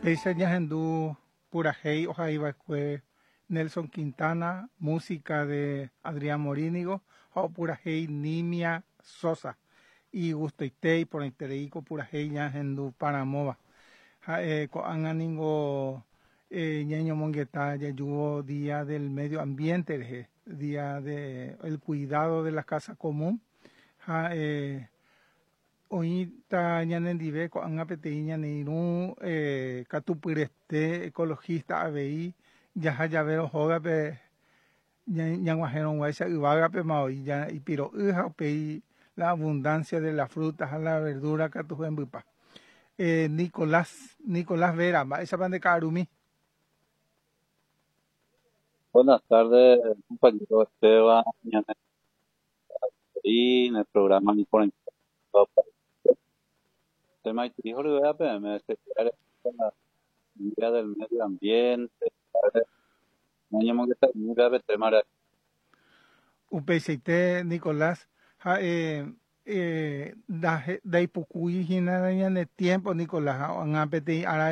Péicha ñahendu purahéi ohaiva'ekue Nelson Quintana, música de Adrián Morínigo ha opurahéi Nimia Sosa. Igustoite iporãiterei ko purahéi ñahenduparamóva. Ha'e ko'ág̃a ningo ñañomongeta jajúvo Día del Medio Ambiente rehe, Día de el Cuidado de la Casa Común ha oĩta ñanendive ko'ág̃a peteĩ ñane irũ katupyrete ecologista avei jaha javérõ hógape ñag̃uahẽrõguáicha yvágapema oĩ ipiro'y ha upéi la abundancia de la fruta ha la verdura katu hembypa. Nicolás, Nicolás Vera, mba'éichapa nde ka'arumi? Buenas tardes, compañero Esteban, ñane en el programa Tema me Día del Medio Ambiente, tema Upeichaite Nicolás ha ndaipukúi hína ñane tiempo Nicolás ha ág̃a peteĩ ára.